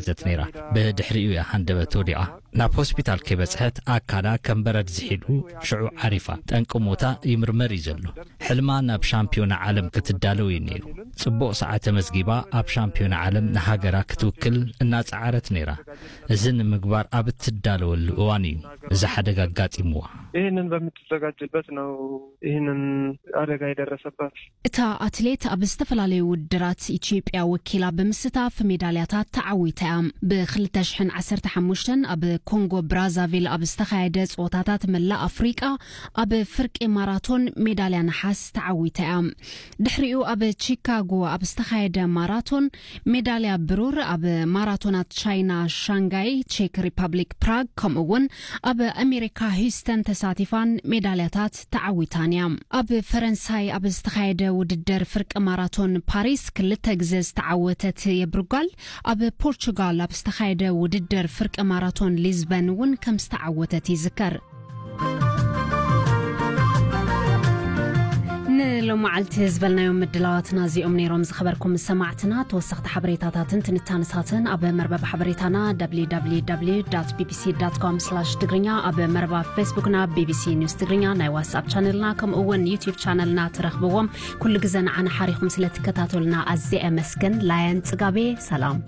ዘት ነይራ። ብድሕሪኡ እያ ሃንደበት ወዲቓ። ናብ ሆስፒታል ከይበጽሐት ኣካላ ከም በረድ ዝሒሉ ሽዑ ዓሪፋ። ጠንቂ ሞታ ይምርመር እዩ ዘሎ። ሕልማ ናብ ሻምፒዮና ዓለም ክትዳለው እዩ ነይሩ። ጽቡቕ ሰዓት ተመዝጊባ ኣብ ሻምፒዮና ዓለም ንሃገራ ክትውክል እናጸዓረት ነይራ። እዚ ንምግባር ኣብ እትዳለወሉ እዋን እዩ እዚ ሓደጋ ኣጋጢምዋ። ይህንን በምትዘጋጅበት ነው ይህንን አደጋ የደረሰባት። እታ ኣትሌት ኣብ ዝተፈላለዩ ውድድራት ኢትዮጵያ ወኪላ ብምስታፍ ሜዳልያታት ተዓዊታ እያ። ብ2015 ኣብ ኮንጎ ብራዛቪል ኣብ ዝተኻየደ ጸወታታት መላእ ኣፍሪቃ ኣብ ፍርቂ ማራቶን ሜዳልያ ነሓስ ተዓዊታ እያ። ድሕሪኡ ኣብ ቺካጎ ኣብ ዝተኻየደ ማራቶን ሜዳልያ ብሩር፣ ኣብ ማራቶናት ቻይና ሻንጋይ፣ ቼክ ሪፐብሊክ ፕራግ፣ ከምኡ እውን ኣብ ኣሜሪካ ሂውስተን ተሳቲፋን ሜዳልያታት ተዓዊታን እያ። ኣብ ፈረንሳይ ኣብ ዝተኻየደ ውድድር ፍርቂ ማራቶን ፓሪስ ክልተ ግዜ ዝተዓወተት የብርጓል፣ ኣብ ፖርቹጋል ኣብ ዝተኻየደ ውድድር ፍርቂ ማራቶን ሊዝበን እውን ከም ዝተዓወተት ይዝከር። ንሎማዓልቲ ዝበልናዮም ምድላዋትና እዚኦም ነይሮም። ዝኸበርኩም ሰማዕትና፣ ተወሰኽቲ ሓበሬታታትን ትንታነታትን ኣብ መርበብ ሓበሬታና www bbc com ትግርኛ፣ ኣብ መርበብ ፌስቡክና ቢቢሲ ኒውስ ትግርኛ፣ ናይ ዋትስኣፕ ቻነልና ከምኡ እውን ዩቲዩብ ቻነልና ትረኽብዎም። ኩሉ ግዘ ንዓና ሓሪኹም ስለትከታተሉና ኣዝየ ኣመስግን። ላያን ጽጋቤ፣ ሰላም።